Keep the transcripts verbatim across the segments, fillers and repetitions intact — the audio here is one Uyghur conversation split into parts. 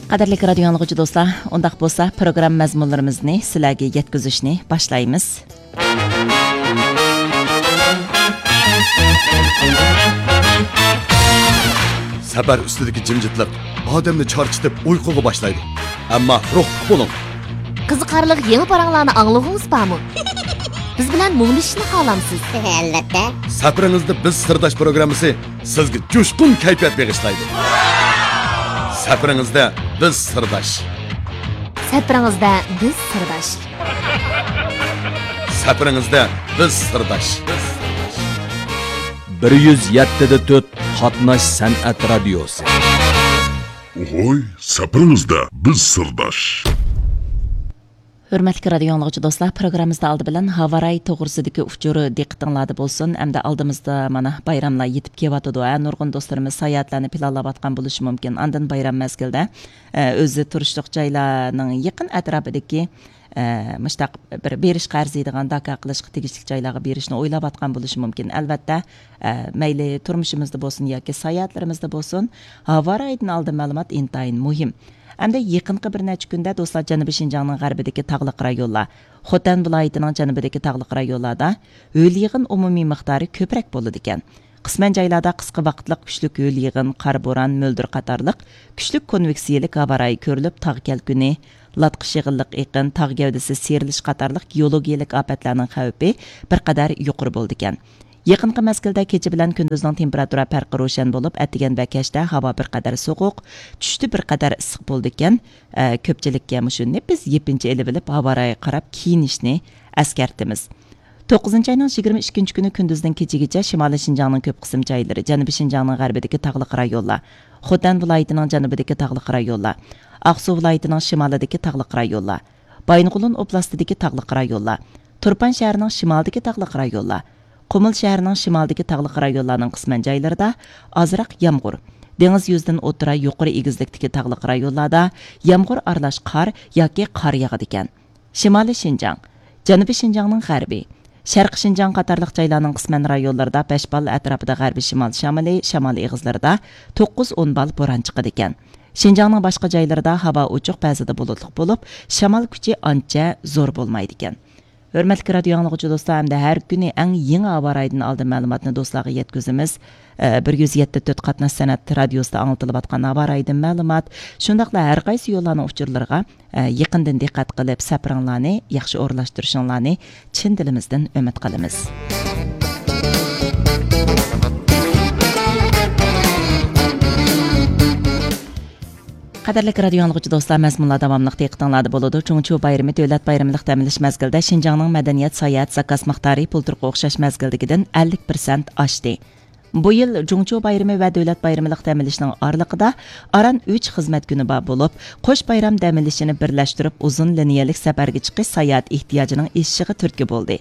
قەدىرلىك رادىيو ئاڭلىغۇچى دوستلار، ئۇنداق بولسا پروگرامما مەزمۇنلىرىمىزنى سىلەرگە يەتكۈزۈشنى باشلايمىز. سەپەر ئۈستىدىكى جىمجىتلىق ئادەمنى چارچىتىپ ئۇيقۇغا باشلايدۇ. ئەمما روھلۇق بولۇڭ. قىزىقارلىق يېڭى پاراڭلارنى ئاڭلىغۇڭىز بارمۇ؟ بىز بىلەن مۇڭدىشىشنى خالامسىز؟ ئەلۋەتتە. سەپىرىڭىزدە بىز سىرداش پروگراممىسى سىزگە جۇشقۇن كەيپىيات بېغىشلايدۇ. سەپىرىڭىزدە بىز سىرداش. سەپىرىڭىزدە بىز سىرداش. سەپىرىڭىزدە بىز سىرداش. بىر يۈز يەتتە دە تۆت قاتناش سەنئەت رادىيوسى. ئوھوي، سەپىرىڭىزدە بىز سىرداش. ھۆرمەتلىك رادىيو ئاڭلىغۇچى دوستلار، پروگراممىمىزدا ئالدى بىلەن ھاۋا رايى توغرىسىدىكى ئۇچۇر دىققىتىڭلاردا بولسۇن. ئەمدى ئالدىمىزدا مانا بايراملار يېتىپ كېلىۋاتىدۇ. ھە، نۇرغۇن دوستلىرىمىز ساياھەتلەرنى پىلانلاۋاتقان بولۇشى مۇمكىن. ئاندىن بايرام مەزگىلىدە، ئە، ئۆزى تۇرۇشلۇق جايلارنىڭ يېقىن ئەتراپىدىكى، ئە، مۇشتاق بىر بېرىشقا ئەرزىيدىغان، داكا قىلىشقا تېگىشلىك جايلارغا بېرىشنى ئويلاۋاتقان بولۇشى مۇمكىن. ئەلۋەتتە، ئە، مەيلى تۇرمۇشىمىزدا بولسۇن ياكى ساياھەتلىرىمىزدە بولسۇن، ھاۋا رايىدىن ئالدىن مەلۇمات ئىنتايىن مۇھىم. ئەمدى يېقىنقى بىر نەچچە كۈندە دوستلار، جەنۇبىي شىنجاڭنىڭ غەربىدىكى تاغلىق رايونلار، خوتەن ۋىلايىتىنىڭ جەنۇبىدىكى تاغلىق رايونلاردا ھۆل يېغىن ئومۇمىي مىقدارى كۆپرەك بولىدىكەن. قىسمەن جايلاردا قىسقا ۋاقىتلىق كۈچلۈك ھۆل يېغىن، قار، بوران، مۆلدۈر قاتارلىق كۈچلۈك كونۋېكسىيەلىك ھاۋا رايى كۆرۈلۈپ، تاغ كەلكۈنى، لاتقىش يېغىنلىق ئېقىن، تاغ گەۋدىسى سىيرىلىش قاتارلىق گېئولوگىيەلىك ئاپەتلەرنىڭ خەۋپى بىر قەدەر يۇقىرى بولىدىكەن. يېقىنقى مەزگىلدە كېچە بىلەن كۈندۈزنىڭ تېمپېراتۇرا پەرقى روشەن بولۇپ، ئەتىگەن ۋە كەچتە ھاۋا بىر قەدەر سوغۇق، چۈشتە بىر قەدەر ئىسسىق بولىدىكەن. ئە، كۆپچىلىككە مۇشۇ نېپىز يېپىنچا ئېلىۋېلىپ، ھاۋا رايىغا قاراپ كىيىنىشنى ئەسكەرتىمىز. توققۇزىنچى ئاينىڭ يىگىرمە ئىككىنچى كۈنى كۈندۈزدىن كېچىگىچە شىمالىي شىنجاڭنىڭ كۆپ قىسىم جايلىرى، جەنۇبىي شىنجاڭنىڭ غەربىدىكى تاغلىق رايونلار، خوتەن ۋىلايىتىنىڭ جەنۇبىدىكى تاغلىق رايونلار، ئاقسۇ ۋىلايىتىنىڭ شىمالىدىكى تاغلىق رايونلار، بايىنغولىن ئوبلاستىدىكى تاغلىق رايونلار، تۇرپان شەھىرىنىڭ شىمالىدىكى تاغلىق رايونلار، قۇمۇل شەھىرىنىڭ شىمالىدىكى تاغلىق رايونلارنىڭ قىسمەن جايلىرىدا ئازراق يامغۇر، دېڭىز يۈزىدىن ئوتتۇرا يۇقىرى ئېگىزلىكتىكى تاغلىق رايونلاردا يامغۇر ئارىلاش قار ياكى قار ياغىدىكەن. شىمالىي شىنجاڭ، جەنۇبىي شىنجاڭنىڭ غەربى، شەرقىي شىنجاڭ قاتارلىق جايلارنىڭ قىسمەن رايونلىرىدا بەش بال ئەتراپىدا غەربىي شىمال شامىلى، شامال ئېغىزلىرىدا توققۇز ئون بال بوران چىقىدىكەن. شىنجاڭنىڭ باشقا جايلىرىدا ھاۋا ئوچۇق، بەزىدە بۇلۇتلۇق بولۇپ، شامال كۈچى ئانچە زور بولمايدىكەن. ھۆرمەتلىك رادىيو ئاڭلىغۇچى دوستلار، ئەمدى ھەر كۈنى ئەڭ يېڭى ھاۋا رايىدىن ئالدىن مەلۇماتنى دوستلارغا يەتكۈزىمىز. ئە، بىر يۈز يەتتە تۆت قاتناش سەنئەت رادىيوسىدا ئاڭلىتىلىۋاتقان ھاۋا رايىدىن مەلۇمات، شۇنداقلا ھەر قايسى يوللارنىڭ ئۇچۇرلىرىغا، ئە، يېقىندىن دىققەت قىلىپ، سەپىرىڭلارنى ياخشى ئورۇنلاشتۇرۇشۇڭلارنى چىن دىلىمىزدىن ئۈمىد قىلىمىز. قەدىرلىك رادىيو ئاڭلىغۇچى دوستلار، مەزمۇنلار داۋاملىق دىققىتىڭلاردا بولىدۇ. جۇڭچيۇ بايرىمى دۆلەت بايرىملىق دەم ئېلىش مەزگىلىدە شىنجاڭنىڭ مەدەنىيەت، ساياھەت زاكاز مىقدارى بۇلتۇرقى ئوخشاش مەزگىلدىكىدىن ئەللىك پىرسەنت ئاشتى. بۇ يىل جۇڭچيۇ بايرىمى ۋە دۆلەت بايرىملىق دەم ئېلىشنىڭ ئارىلىقىدا ئاران ئۈچ خىزمەت كۈنى بار بولۇپ، قوش بايرام دەم ئېلىشىنى بىرلەشتۈرۈپ، ئۇزۇن لىنىيەلىك سەپەرگە چىقىش ساياھەت ئېھتىياجىنىڭ ئېشىشىغا تۈرتكە بولدى.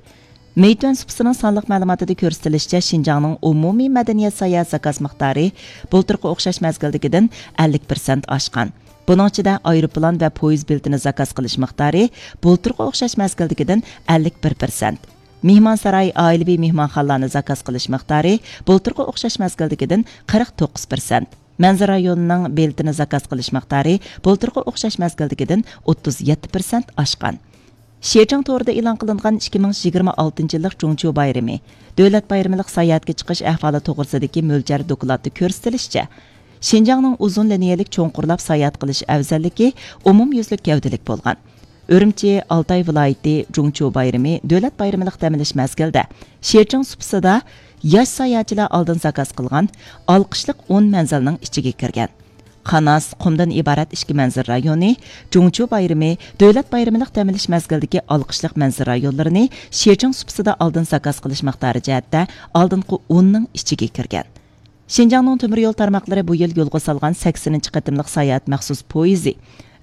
مېيتۈەن سۇپىسىنىڭ سانلىق مەلۇماتىدا كۆرسىتىلىشىچە، شىنجاڭنىڭ ئومۇمىي مەدەنىيەت ساياھەت زاكاز مىقدارى بۇلتۇرقى ئوخشاش مەزگىلدىكىدىن ئەللىك پىرسەنت ئاشقان. بۇنىڭ ئىچىدە ئايروپىلان ۋە پويىز بېلىتىنى زاكاز قىلىش مىقدارى بۇلتۇرقى ئوخشاش مەزگىلدىكىدىن ئەللىك بىر پىرسەنت. مېھمانساراي، ئائىلىۋى مېھمانخانىلارنى زاكاز قىلىش مىقدارى بۇلتۇرقى ئوخشاش مەزگىلدىكىدىن قىرىق توققۇز پىرسەنت. مەنزىرە رايونىنىڭ بېلىتىنى زاكاز قىلىش مىقدارى بۇلتۇرقى ئوخشاش مەزگىلدىكىدىن ئوتتۇز يەتتە پىرسەنت ئاشقان. شىچىڭ تورىدا ئېلان قىلىنغان ئىككى مىڭ يىگىرمە ئالتىنچى يىللىق جۇڭچيۇ بايرىمى، دۆلەت بايرىملىق ساياھەتكە چىقىش ئەھۋالى توغرىسىدىكى مۆلچەر دوكلاتتا كۆرسىتىلىشىچە، شىنجاڭنىڭ ئۇزۇن لىنىيەلىك چوڭقۇرلاپ ساياھەت قىلىش ئەۋزەللىكى ئومۇميۈزلۈك گەۋدىلىك بولغان. ئۈرۈمچى، ئالتاي ۋىلايىتى، جۇڭچيۇ بايرىمى، دۆلەت بايرىملىق دەم ئېلىش مەزگىلىدە شىچىڭ سۇپىسىدا ياش ساياھەتچىلەر ئالدىن زاكاز قىلغان ئالقىشلىق ئون مەنزىلنىڭ ئىچىگە كىرگەن. قاناس، قۇمدىن ئىبارەت ئىككى مەنزىرە رايونى، جۇڭچيۇ بايرىمى، دۆلەت بايرىملىق دەم ئېلىش مەزگىلىدىكى ئالقىشلىق مەنزىرە رايونلىرىنى شىچىڭ سۇپىسىدا ئالدىن زاكاز قىلىش مىقدارى جەھەتتە ئالدىنقى ئوننىڭ ئىچىگە كىرگەن. شىنجاڭنىڭ تۆمۈر يول تارماقلىرى بۇ يىل يولغا سالغان سەكسىنىنچى قېتىملىق ساياھەت مەخسۇس پويىزى،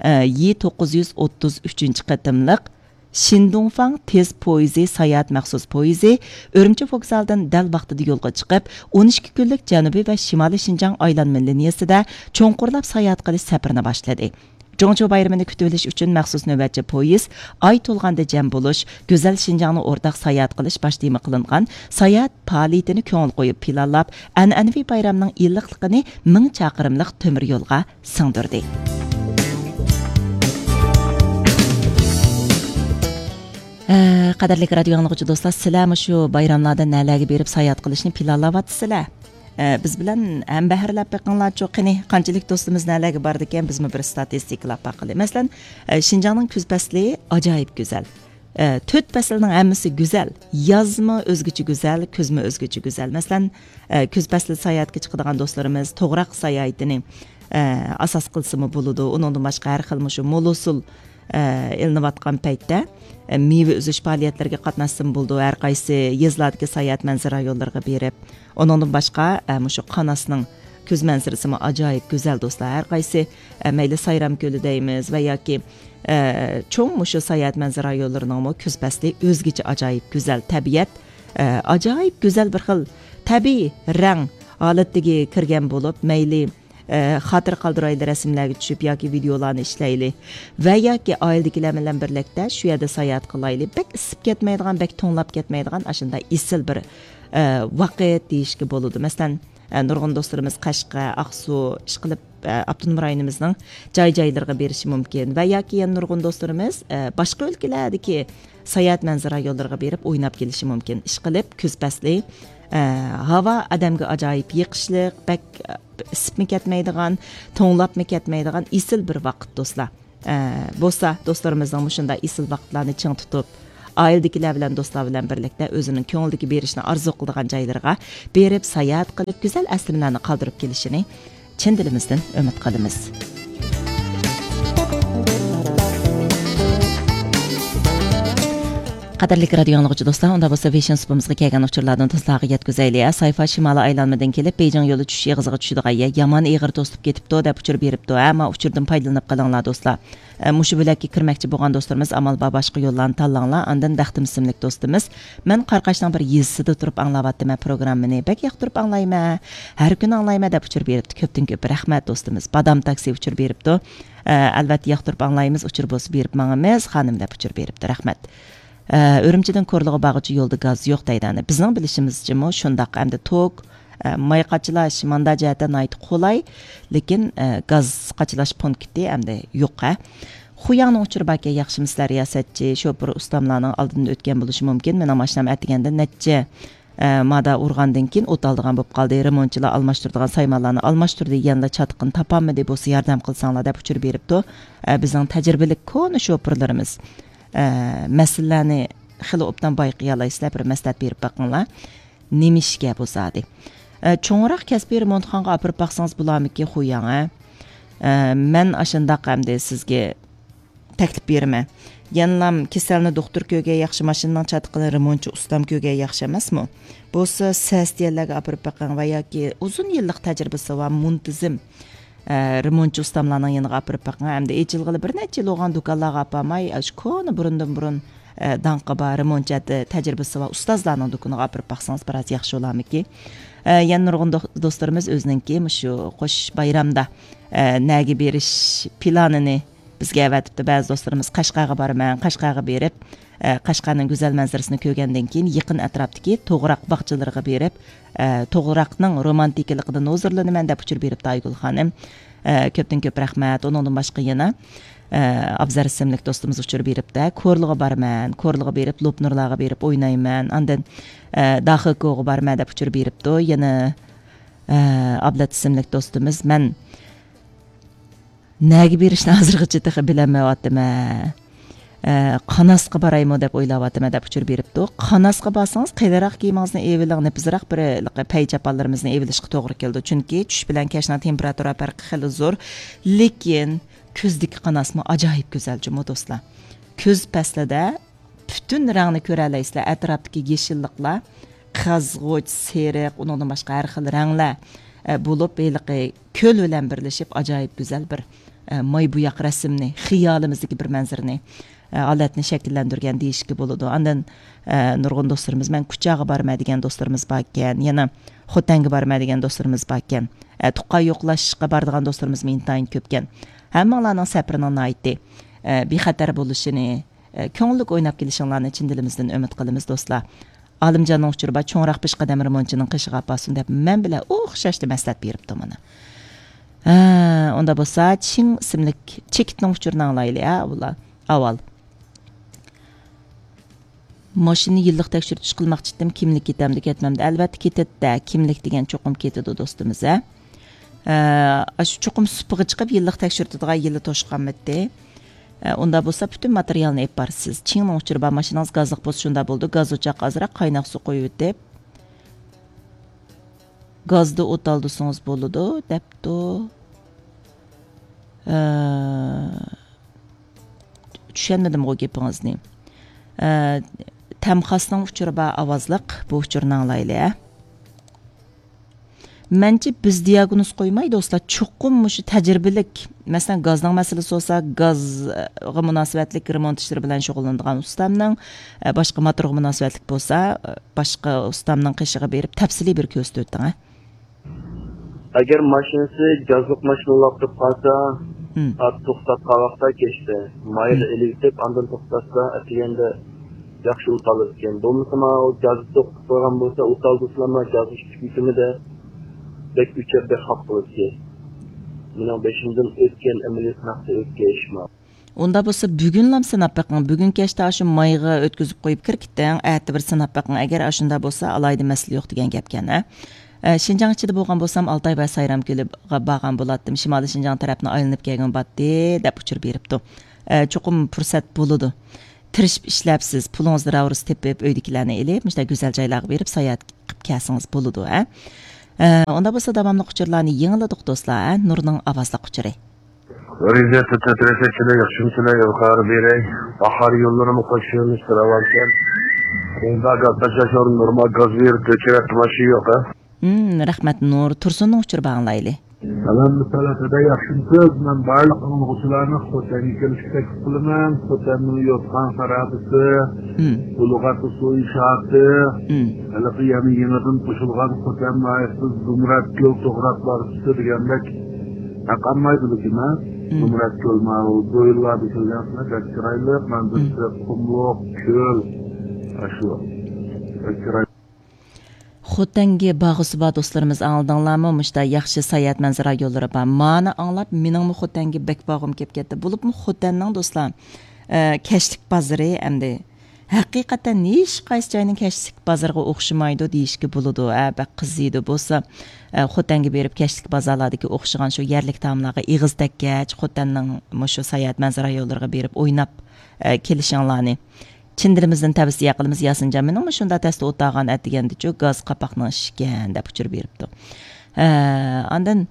ئى توققۇز يۈز ئوتتۇز ئۈچىنچى قېتىملىق شىندۇڭفاڭ تېز پويىزى ساياھەت مەخسۇس پويىزى ئۈرۈمچى ۋوگزالىدىن دەل ۋاقتىدا يولغا چىقىپ، ئون ئىككى كۈنلۈك جەنۇبىي ۋە شىمالىي شىنجاڭ ئايلانما لىنىيەسىدە چوڭقۇرلاپ ساياھەت قىلىش سەپىرىنى باشلىدى. جۇڭچيۇ بايرىمىنى كۈتۈۋېلىش ئۈچۈن مەخسۇس نۆۋەتچى پويىز ئاي تولغاندا جەم بولۇش، گۈزەل شىنجاڭنى ئورتاق ساياھەت قىلىش باش تېما قىلىنغان ساياھەت پائالىيىتىنى كۆڭۈل قويۇپ پىلانلاپ، ئەنئەنىۋى بايرامنىڭ ئىللىقلىقىنى مىڭ چاقىرىملىق تۆمۈر يولغا سىڭدۈردى. ئە، قەدىرلىك رادىيو ئاڭلىغۇچى دوستلار، سىلەر مۇشۇ بايراملاردا نەلەرگە بېرىپ ساياھەت قىلىشنى پىلانلاۋاتىسىلەر؟ ئە، بىز بىلەن ھەمبەھىرلەپ بېقىڭلارچۇ، قېنى، قانچىلىك دوستىمىز نەلەرگە باردىكەن، بىزمۇ بىر ستاتىستىكىلاپ باقىلى. مەسىلەن، ئە، شىنجاڭنىڭ كۈز پەسلى ئاجايىپ گۈزەل. ئە، تۆت پەسىلنىڭ ھەممىسى گۈزەل. يازمۇ ئۆزگىچە گۈزەل، كۈزمۇ ئۆزگىچە گۈزەل. مەسىلەن، ئە، كۈز پەسلى ساياھەتكە چىقىدىغان دوستلىرىمىز توغراق ساياھىتىنى، ئە، ئاساس قىلسىمۇ بولىدۇ. ئۇنىڭدىن باشقا ھەر خىل مۇشۇ مول ھوسۇل، ئە، ئېلىنىۋاتقان پەيتتە، ئە، مېۋە ئۈزۈش پائالىيەتلىرىگە قاتناشسىمۇ بولىدۇ. ھەر قايسى يېزىلاردىكى ساياھەت مەنزىرە رايونلىرىغا بېرىپ، ئۇنىڭدىن باشقا، ئە، مۇشۇ قاناسنىڭ كۈز مەنزىرىسىمۇ ئاجايىپ گۈزەل دوستلار. ھەر قايسى، ئە، مەيلى سايرام كۆلى دەيمىز ۋە ياكى، ئە، چوڭ مۇشۇ ساياھەت مەنزىرە رايونلىرىنىڭمۇ كۈز پەسلى ئۆزگىچە ئاجايىپ گۈزەل تەبىئەت، ئە، ئاجايىپ گۈزەل بىر خىل تەبىئىي رەڭ ھالىتىگە كىرگەن بولۇپ، مەيلى، ئە، خاتىرە قالدۇرايلى رەسىملەرگە چۈشۈپ ياكى ۋىدېئولارنى ئىشلەيلى ۋە ياكى ئائىلىدىكىلەر بىلەن بىرلىكتە شۇ يەردە ساياھەت قىلايلى. بەك ئىسسىپ كەتمەيدىغان، بەك توڭلاپ كەتمەيدىغان ئاشۇنداق ئېسىل بىر، ئە، ۋاقىت دېيىشكە بولىدۇ. مەسىلەن، ئە، نۇرغۇن دوستلىرىمىز قەشقەر، ئاقسۇ، ئىشقىلىپ، ئە، ئاپتونوم رايونىمىزنىڭ جاي-جايلىرىغا بېرىشى مۇمكىن ۋە ياكى يەنە نۇرغۇن دوستلىرىمىز، ئە، باشقا ئۆلكىلەردىكى ساياھەت مەنزىرە رايونلىرىغا بېرىپ ئويناپ كېلىشى مۇمكىن. ئىشقىلىپ، كۈز پەسلى، ئە، ھاۋا ئادەمگە ئاجايىپ يېقىشلىق، بەك، ئە، ئىسسىپمۇ كەتمەيدىغان، توڭلاپمۇ كەتمەيدىغان ئېسىل بىر ۋاقىت، دوستلار. ئە، بولسا، دوستلىرىمىزنىڭ مۇشۇنداق ئېسىل ۋاقىتلارنى چىڭ تۇتۇپ، ئائىلىدىكىلەر بىلەن، دوستلار بىلەن بىرلىكتە ئۆزىنىڭ كۆڭلىدىكى بېرىشنى ئارزۇ قىلىدىغان جايلىرىغا بېرىپ، ساياھەت قىلىپ، گۈزەل ئەسلىمىلەرنى قالدۇرۇپ كېلىشىنى چىن دىلىمىزدىن ئۈمىد قىلىمىز. قەدىرلىك رادىيو ئاڭلىغۇچى دوستلار، ئۇندا بولسا ۋېشىن سۇپىمىزغا كەلگەن ئۇچۇرلاردىن دوستلارغا يەتكۈزەيلى. سايفا شىمالىي ئايلانمىدىن كېلىپ، بېيجىڭ يولى چۈشۈش ئېغىزىغا چۈشىدىغان يەر يامان ئېغىر توسۇلۇپ كېتىپتۇ، دەپ ئۇچۇر بېرىپتۇ. ھە، ما ئۇچۇردىن پايدىلىنىپ قېلىڭلار، دوستلار. ئە، مۇشۇ بۆلەككە كىرمەكچى بولغان دوستلىرىمىز ئامال بار باشقا يوللارنى تاللاڭلار. ئاندىن بەختىم ئىسىملىك دوستىمىز، مەن قاراقاشنىڭ بىر يېزىسىدا تۇرۇپ ئاڭلاۋاتىمەن پروگراممىنى. بەك ياقتۇرۇپ ئاڭلايمەن. ھەر كۈنى ئاڭلايمەن، دەپ ئۇچۇر بېرىپتۇ. كۆپتىن كۆپ رەھمەت دوستىمىز. بادام تاكسى ئۇچۇر بېرىپتۇ. ئە، ئەلۋەتتە ياقتۇرۇپ ئاڭلايمىز، ئۇچۇر بولسا بېرىپ ماڭىمىز، خانىم، دەپ ئۇچۇر بېرىپتۇ. رەھمەت. ئە، ئۈرۈمچىدىن كورلىغا بارغۇچە يولدا گاز يوق دەيدۇ. ئەنە بىزنىڭ بىلىشىمىزچىمۇ شۇنداق. ئەمدى توك، ئە، ماي قاچىلاش ماندا جەھەتتە ناھايىتى قولاي، لېكىن، ئە، گاز قاچىلاش پونكىتى ئەمدى يوق، ھە. خۇياڭنىڭ ئۇچۇرى باركەن، ياخشىمۇسىلەر رىياسەتچى، شوپۇر ئۇستاملارنىڭ ئالدىدىن ئۆتكەن بولۇشى مۇمكىن. مېنىڭ ماشىنام ئەتىگەندە نەچچە، ئە، مادا ئۇرغاندىن كېيىن ئوت ئالىدىغان بولۇپ قالدى. رېمونتچىلار ئالماشتۇرىدىغان سايمانلارنى ئالماشتۇردى، يەنىلا چاتىقىنى تاپالمىدى، بولسا ياردەم قىلساڭلار، دەپ ئۇچۇر بېرىپتۇ. ئە، بىزنىڭ تەجرىبىلىك كونا شوپۇرلىرىمىز. ئە، مەسىلىلەرنى خېلى ئوبدان بايقىيالايسىلەر، بىر مەسلىھەت بېرىپ بېقىڭلار. نېمىشكە بۇ زادى؟ ئە، چوڭراق كەسپىي رېمونتخانىغا ئاپىرىپ باقسىڭىز بولارمىكىن، خۇياڭ، ھە؟ ئە، مەن ئاشۇنداق ئەمدى سىزگە تەكلىپ بېرىمەن. يەنىلام كېسەلنى دوختۇر كۆرگەن ياخشى، ماشىنىنىڭ چاتىقىنى رېمونتچى ئۇستام كۆرگەن ياخشى ئەمەسمۇ؟ بولسا سەستىيەلەرگە ئاپىرىپ بېقىڭ ۋە ياكى ئۇزۇن يىللىق تەجرىبىسى بار، مۇنتىزىم، ئە، رېمونتچى ئۇستاملارنىڭ يېنىغا ئاپىرىپ بېقىڭ. ئەمدى ئېچىلغىلى بىر نەچچە يىل بولغان دۇكانلارغا ئاپارماي، ئاشۇ كونا بۇرۇندىن بۇرۇن، ئە، داڭقى بار رېمونتچى ھەتتا تەجرىبىسى بار ئۇستازلارنىڭ دۇكىنىغا ئاپىرىپ باقسىڭىز بىراز ياخشى بولارمىكىن. ئە، يەنە نۇرغۇن دو-، دوستلىرىمىز ئۆزىنىڭكى مۇشۇ قوش بايرامدا، ئە، نەگە بېرىش پىلانىنى بىزگە ئەۋەتىپتۇ. بەزى دوستلىرىمىز قەشقەرگە بارىمەن، قەشقەرگە بېرىپ، ئە، قەشقەرنىڭ گۈزەل مەنزىرىسىنى كۆرگەندىن كېيىن يېقىن ئەتراپتىكى توغراق باغچىلىرىغا بېرىپ، ئە، توغراقنىڭ رومانتىكىلىقىدىن ھۇزۇرلىنىمەن، دەپ ئۇچۇر بېرىپتۇ ئايگۈل خانىم. ئە، كۆپتىن كۆپ رەھمەت. ئۇنىڭدىن باشقا يەنە، ئە، ئابزەر ئىسىملىك دوستىمىز ئۇچۇر بېرىپتۇ. كورلىغا بارىمەن، كورلىغا بېرىپ لوپنۇرلارغا بېرىپ ئوينايمەن. ئاندىن، ئە، داخىكوغا بارىمەن، دەپ ئۇچۇر بېرىپتۇ. يەنە، ئە، ئابلەت ئىسىملىك دوستىمىز، مەن نەگە بېرىشنى ھازىرغىچە تېخى بىلەلمەيۋاتىمەن. ئە، قاناسقا بارايمۇ دەپ ئويلاۋاتىمەن، دەپ ئۇچۇر بېرىپتۇ. قاناسقا بارسىڭىز، قېلىنراق كىيىمىڭىزنى ئېۋىلىڭ، نېپىزراق بىر ھېلىقى پەي چاپانلىرىمىزنى ئېۋىلىشقا توغرا كېلىدۇ. چۈنكى چۈش بىلەن كەچنىڭ تېمپېراتۇرا پەرقى خېلى زور. لېكىن كۈزدىكى قاناسمۇ ئاجايىپ گۈزەل جۇمۇ، دوستلار. كۈز پەسلىدە پۈتۈن رەڭنى كۆرەلەيسىلەر. ئەتراپتىكى يېشىللىقلار، قىزغۇچ، سېرىق، ئۇنىڭدىن باشقا ھەر خىل رەڭلەر، ئە، بولۇپ، ھېلىقى كۆل بىلەن بىرلىشىپ، ئاجايىپ گۈزەل بىر، ئە، ماي بوياق رەسىمنى، خىيالىمىزدىكى بىر مەنزىرىنى، ئە، ھالەتنى شەكىللەندۈرگەن دېيىشكە بولىدۇ. ئاندىن، ئە، نۇرغۇن دوستلىرىمىز، مەن كۇچاغا بارىمەن دېگەن دوستلىرىمىز باركەن، يەنە خوتەنگە بارىمەن دېگەن دوستلىرىمىز باركەن، ئە، تۇغقان يوقلاشقا بارىدىغان دوستلىرىمىزمۇ ئىنتايىن كۆپكەن. ھەممىڭلارنىڭ سەپىرىنىڭ ناھايىتى، ئە، بىخەتەر بولۇشىنى، ئە، كۆڭۈللۈك ئويناپ كېلىشىڭلارنى چىن دىلىمىزدىن ئۈمىد قىلىمىز، دوستلار. ئالىمجاننىڭ ئۇچۇرى بار، چوڭراق پېشقەدەم رېمونتچىنىڭ قېشىغا ئاپارسۇن دەپ، مەن بىلەن ئوخشاشلا مەسلىھەت بېرىپتۇ مانا. ھە، ئۇندا بولسا، چىڭ ئىسىملىك چېكىتنىڭ ئۇچۇرىنى ئاڭلايلى، ھە، ئۇلار. ئاۋۋال. ماشىنىنى يىللىق تەكشۈرتۈش قىلماقچى ئىدىم، كىملىك كېتەمدۇ، كەتمەمدۇ؟ ئەلۋەتتە كېتىدۇ، كىملىك دېگەن چوقۇم كېتىدۇ، دوستىمىز، ھە. ئە، ئاشۇ چوقۇم سۇپىغا چىقىپ يىللىق تەكشۈرتىدىغان يىلى توشقانمىدى. ئە، ئۇنداق بولسا پۈتۈن ماتېرىيالنى ئېلىپ بارىسىز. چىڭنىڭ ئۇچۇرى بار، ماشىنىڭىز گازلىق بولسا شۇنداق بولىدۇ، گاز ئوچاققا ئازراق قايناق سۇ قويۇۋېتىپ، گازدا ئوت ئالدۇرسىڭىز بولىدۇ، دەپتۇ. ئە، چۈشەنمىدىمغۇ گېپىڭىزنى. ئە، تەمخاسنىڭ ئۇچۇرى بار ئاۋازلىق، بۇ ئۇچۇرنى ئاڭلايلى، ھە. مەنچە بىز دىياگنوز قويماي، دوستلار، چوقۇم مۇشۇ تەجرىبىلىك، مەسىلەن، گازنىڭ مەسىلىسى بولسا، گازغا مۇناسىۋەتلىك رېمونت ئىشلىرى بىلەن شۇغۇللىنىدىغان ئۇستامنىڭ، ئە، باشقا موتورغا مۇناسىۋەتلىك بولسا، ئە، باشقا ئۇستامنىڭ قېشىغا بېرىپ تەپسىلىي بىر كۆرسىتىۋېتىڭ، ھە. ئەگەر ماشىنىسى گازلىق ماشىنا بولۇپ قالسا، مم. سائەت توختاپ قالغان ۋاقىتتا كەچتە مايىغا مم. ئېلىۋېتىپ، ئاندىن توختاتسا، ئەتىگەندە ياخشى ئوت ئالىدىكەن. بولمىسا، مانا ئۇ گازنى توختىتىپ قويغان بولسا، ئوت ئالدۇرسىلا، مانا گازنى ئىچىپ كېتىمىدە بەك ئۆچەپ، بەك خاپا قىلىدىكەن. مېنىڭ بېشىمدىن ئۆتكەن ئەمەلىيەت ھەقتە ئۆتكەن ئىش ما. ئۇنداق بولسا، بۈگۈنلام سىناپ بېقىڭ. بۈگۈن كەچتە ئاشۇ مايغا ئۆتكۈزۈپ قويۇپ كىرىپ كېتىڭ. ئەتە بىر سىناپ بېقىڭ. ئەگەر ئاشۇنداق بولسا، ئالاھىدە مەسىلە يوق دېگەن گەپكەن، ھە؟ ئە، شىنجاڭ ئىچىدە بولغان بولسام، ئالتاي ۋە سايرام كۆلىگە بارغان بولاتتىم. شىمالىي شىنجاڭ تەرەپنى ئايلىنىپ كەلگىن باتتى، دەپ ئۇچۇر بېرىپتۇ. ئە، چوقۇم پۇرسەت بولىدۇ. تىرىشىپ ئىشلەپسىز، پۇلىڭىزنى راۋۇرۇس تېپىپ، ئۆيدىكىلەرنى ئېلىپ، مۇشۇنداق گۈزەل جايلارغا بېرىپ ساياھەت قىلىپ كەلسىڭىز بولىدۇ، ھە؟ ئە، ئۇنداق بولسا، داۋاملىق ئۇچۇرلارنى يېڭىلىدۇق، دوستلار، ھە؟ نۇرنىڭ ئاۋازلىق ئۇچۇرى. رىزىيەتتە تۆترەسەكچىلەر ياخشىمۇسىلەر؟ ئىلغار بېرەي. باھار يوللىرىمۇ قوشۇمىسى راۋانكەن. ئۇندا گاز تاشلاشلار نورمال گاز بېرىپ ئۆچۈرەتتى ماشىنا يوق، ھە؟ رەھمەت، نۇر تۇرسۇننىڭ ئۇچۇرى بار، ئاڭلايلى. سالام، مىسالاتىدا ياخشىمۇسىز؟ مەن بارلىق ئاڭلىغۇچىلارنى خوتەنگە كېلىشكە تەكلىپ قىلىمەن. خوتەننىڭ يوتقان خارابىسى، بۇلغاتى سۇ ئىنشائاتى، ھېلىقى يەنە يېڭىدىن قوشۇلغان خوتەن ناھىيەسى زۇمرەتكۆل توغراق بارىسى دېگەندەك. ھەق ئالمايدۇ لېكىن، ھە؟ زۇمرەتكۆل، ماۋۇ دويلاردا كۆرگەنسىلەر، بەك چىرايلىق، مەنزىرىسى قۇملۇق، كۆل. ئاشۇ. بەك چىرايلىق. خوتەنگە بارغۇسى بار دوستلىرىمىز، ئاڭلىدىڭلارمۇ؟ مۇشۇنداق ياخشى ساياھەت مەنزىرە رايونلىرى بار. مانا ئاڭلاپ، مېنىڭمۇ خوتەنگە بەك بارغۇم كېلىپ كەتتى. بولۇپمۇ خوتەننىڭ، دوستلار، ئە، كەچلىك بازىرى ئەمدى ھەقىقەتەن ھېچقايسى جاينىڭ كەچلىك بازىرىغا ئوخشىمايدۇ دېيىشكە بولىدۇ. ئە، بەك قىزىيدۇ. بولسا، ئە، خوتەنگە بېرىپ كەچلىك بازارلاردىكى ئوخشىغان شۇ يەرلىك تائاملارغا ئېغىز تەگكەچ، خوتەننىڭ مۇشۇ ساياھەت مەنزىرە رايونلىرىغا بېرىپ ئويناپ، ئە، كېلىشىڭلارنى چىن دىلىمىزدىن تەۋسىيە قىلىمىز. ياسىنجان مېنىڭمۇ شۇنداق تەستە ئولتۇرغان ئەتىگەندىچۇ، گاز قاپاقنىڭ ئىشىكەن، دەپ ئۇچۇر بېرىپتۇ. ھە، ئاندىن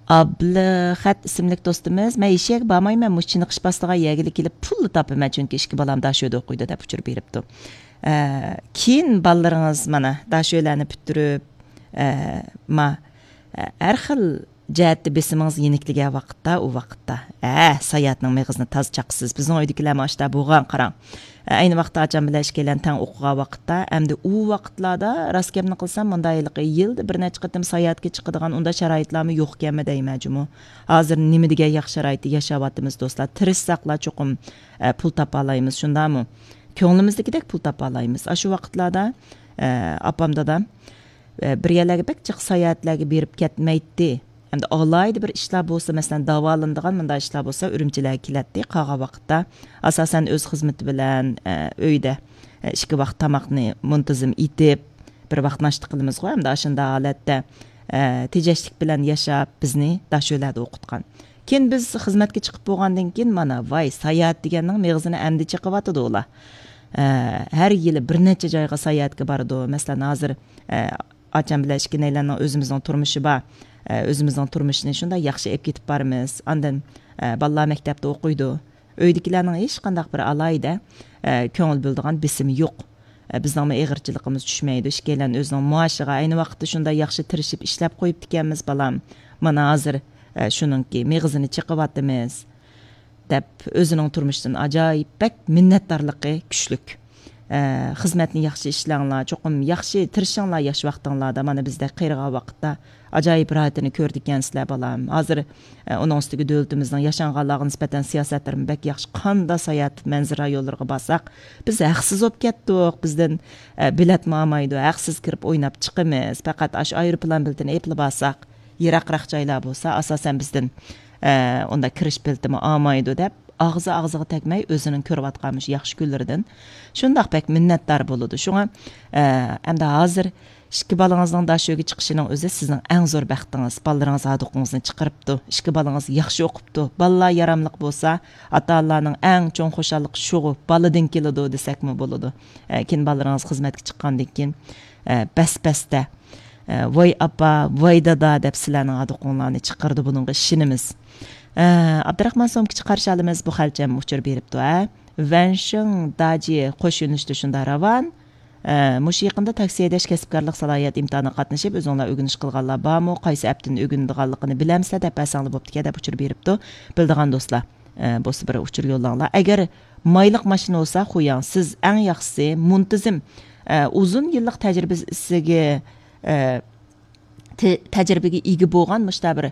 ئابلىخەت ئىسىملىك دوستىمىز، مەن ھېچ يەرگە بارمايمەن، مۇشۇ چېنىقىش باسىدىغان يەرگىلا كېلىپ پۇللا تاپىمەن، چۈنكى ئىككى بالام داشۆدە ئوقۇيدۇ، دەپ ئۇچۇر بېرىپتۇ. ھە، كېيىن بالىلىرىڭىز مانا داشۆلەرنى پۈتتۈرۈپ، ھە، ما، ھە، ھەر خىل جەھەتتە بېسىمىڭىز يېنىكلىگەن ۋاقىتتا، ئۇ ۋاقىتتا، ھە، ساياھەتنىڭ مېغىزىنى تازا چاقىسىز. بىزنىڭ ئۆيدىكىلەرمۇ ئاشۇنداق بولغان، قاراڭ. ئەينى ۋاقىتتا ئاچام بىلەن ئىككىيلەن تەڭ ئوقۇغان ۋاقىتتا، ئەمدى ئۇ ۋاقىتلاردا راست گەپنى قىلسام، مۇنداق ھېلىقى يىلدا بىر نەچچە قېتىم ساياھەتكە چىقىدىغان ئۇنداق شارائىتلارمۇ يوقكەنمۇ دەيمەن جۇمۇ. ھازىر نېمە دېگەن ياخشى شارائىتتا ياشاۋاتىمىز، دوستلار. تىرىشساقلا چوقۇم، ئە، پۇل تاپالايمىز، شۇنداقمۇ؟ كۆڭلىمىزدىكىدەك پۇل تاپالايمىز. ئاشۇ ۋاقىتلاردا، ئە، ئاپام، دادام، ئە، بىر يەرلەرگە بەك جىق ساياھەتلەرگە بېرىپ كەتمەيتتى. ئەمدى ئالاھىدە بىر ئىشلار بولسا، مەسىلەن، داۋالىنىدىغان مۇنداق ئىشلار بولسا، ئۈرۈمچىلەرگە كېلەتتى. قالغان ۋاقىتتا، ئاساسەن، ئۆز خىزمىتى بىلەن، ئە، ئۆيدە، ئە، ئىككى ۋاقىت تاماقنى مۇنتىزىم ئېتىپ، بىر ۋاقىت ناشتا قىلىمىزغۇ، ئەمدى ئاشۇنداق ھالەتتە، ئە، تېجەشلىك بىلەن ياشاپ، بىزنى داشۆلەردە ئوقۇتقان. كېيىن بىز خىزمەتكە چىقىپ بولغاندىن كېيىن، مانا، ۋاي، ساياھەت دېگەننىڭ مېغىزىنى ئەمدى چېقىۋاتىدۇ ئۇلار. ئە، ھەر يىلى بىر نەچچە جايغا ساياھەتكە بارىدۇ. مەسىلەن، ھازىر، ئە، ئاچام بىلەن ئىككىيلەننىڭ ئۆزىمىزنىڭ تۇرمۇشى بار. ئە، ئۆزىمىزنىڭ تۇرمۇشىنى شۇنداق ياخشى ئېلىپ كېتىپ بارىمىز. ئاندىن، ئە، بالىلار مەكتەپتە ئوقۇيدۇ. ئۆيدىكىلەرنىڭ ھېچقانداق بىر ئالاھىدە، ئە، كۆڭۈل بۆلىدىغان بېسىمى يوق. ئە، بىزنىڭمۇ ئېغىرچىلىقىمىز چۈشمەيدۇ. ئىككىيلەن ئۆزىنىڭ مائاشىغا ئەينى ۋاقىتتا شۇنداق ياخشى تىرىشىپ ئىشلەپ قويۇپتىكەنمىز، بالام. مانا ھازىر، ئە، شۇنىڭكى مېغىزىنى چېقىۋاتىمىز. دەپ ئۆزىنىڭ تۇرمۇشىدىن ئاجايىپ بەك مىننەتدارلىقى كۈچلۈك. ئە، خىزمەتنى ياخشى ئىشلەڭلار، چوقۇم ياخشى تىرىشىڭلار ياش ۋاقتىڭلاردا، مانا بىزدەك قېرىغان ۋاقىتتا ئاجايىپ راھىتىنى كۆرىدىكەنسىلەر، بالام. ھازىر، ئە، ئۇنىڭ ئۈستىگە دۆلىتىمىزنىڭ ياشانغانلارغا نىسبەتەن سىياسەتلىرىمۇ بەك ياخشى. قاندا ساياھەت مەنزىرە رايونلىرىغا بارساق، بىز ھەقسىز بولۇپ كەتتۇق، بىزدىن، ئە، بېلەتمۇ ئالمايدۇ، ھەقسىز كىرىپ ئويناپ چىقىمىز، پەقەت ئاشۇ ئايروپىلان بېلىتىنى ئېپلا بارساق. يىراقراق جايلار بولسا، ئاساسەن بىزدىن، ئە، ئۇنداق كىرىش بېلىتىمۇ ئالمايدۇ دەپ، ئاغزى ئاغزىغا تەگمەي، ئۆزىنىڭ كۆرۈۋاتقان مۇشۇ ياخشى كۈنلىرىدىن شۇنداق بەك مىننەتدار بولىدۇ. شۇڭا، ئە، ئەمدى ھازىر ئىككى بالىڭىزنىڭ داشۆگە چىقىشىنىڭ ئۆزى سىزنىڭ ئەڭ زور بەختىڭىز. بالىلىرىڭىز ھاردۇقىڭىزنى چىقىرىپتۇ، ئىككى بالىڭىز ياخشى ئوقۇپتۇ. بالىلار ياراملىق بولسا، ئاتا-ئانىلارنىڭ ئەڭ چوڭ خۇشاللىقى شۇغۇ، بالىدىن كېلىدۇ دېسەكمۇ بولىدۇ. ئە، كېيىن بالىلىرىڭىز خىزمەتكە چىققاندىن كېيىن، ئە، بەس-بەستە، ئە، ۋاي ئاپا، ۋاي دادا دەپ سىلەرنىڭ ھاردۇقۇڭلارنى چىقىرىدۇ، بۇنىڭغا ئىشىنىمىز. ئە، ئابدۇراخمان سومكىچى قارشى ئالىمىز بۇ خەلچەم ئۇچۇر بېرىپتۇ، ھە. ۋەنشىڭ داجى قوش يۆنىلىشتە شۇنداق راۋان. ئە، مۇشۇ يېقىندا تاكسى ھەيدەش كەسىپكارلىق سالاھىيەت ئىمتىھانىغا قاتنىشىپ، ئۆزۈڭلار ئۆگىنىش قىلغانلار بارمۇ؟ قايسى ئەپتىن ئۆگىنىدىغانلىقىنى بىلەمسىلەر دەپ بەرسەڭلار بوپتىكەن دەپ ئۇچۇر بېرىپتۇ. بىلىدىغان دوستلار، ئە، بولسا بىر ئۇچۇر يوللاڭلار. ئەگەر مايلىق ماشىنا بولسا، خۇياڭ، سىز ئەڭ ياخشىسى مۇنتىزىم، ئە، ئۇزۇن يىللىق تەجرىبىسىگە، ئە، تە-، تەجرىبىگە ئىگە بولغان مۇشۇنداق بىر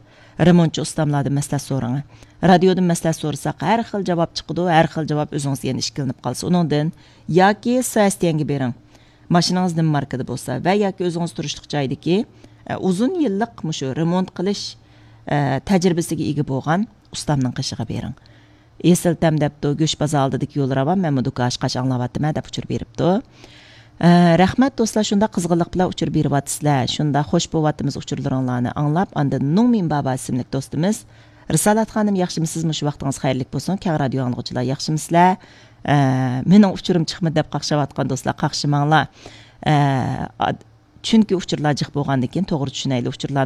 رېمونتچى ئۇستاملاردىن مەسلىھەت سورىڭ. رادىيودىن مەسلىھەت سورىساق، ھەر خىل جاۋاب چىقىدۇ، ھەر خىل جاۋاب ئۆزىڭىزگە يەنە ئىككىلىنىپ قالسا. ئۇنىڭدىن ياكى سىئەستيەنگە بېرىڭ. ماشىنىڭىز نېمە ماركىدا بولسا ۋە ياكى ئۆزىڭىز تۇرۇشلۇق جايدىكى، ئە، ئۇزۇن يىللىق مۇشۇ رېمونت قىلىش، ئە، تەجرىبىسىگە ئىگە بولغان ئۇستامنىڭ قېشىغا بېرىڭ. ئېسىل تەم دەپتۇ، گۆش بازار ئالدىدىكى يول راۋان، مەنمۇ دۇكان ئاچقاچ ئاڭلاۋاتىمەن دەپ ئۇچۇر بېرىپتۇ. ئە، رەھمەت دوستلار، شۇنداق قىزغىنلىق بىلەن ئۇچۇر بېرىۋاتىسىلەر. شۇنداق خوش بولۇۋاتىمىز ئۇچۇرلىرىڭلارنى ئاڭلاپ. ئاندىن نۇڭمىن بابا ئىسىملىك دوستىمىز، رىسالەت خانىم، ياخشىمۇسىز؟ مۇشۇ ۋاقتىڭىز خەيرلىك بولسۇن. كەڭ رادىيو ئاڭلىغۇچىلار، ياخشىمۇسىلەر؟ ئە، مېنىڭ ئۇچۇرۇم چىقمىدى دەپ قاقشاۋاتقان دوستلار، قاقشىماڭلار. ئە، ئاد-، چۈنكى ئۇچۇرلار جىق بولغاندىن كېيىن، توغرا چۈشىنەيلى، ئۇچۇرلارنى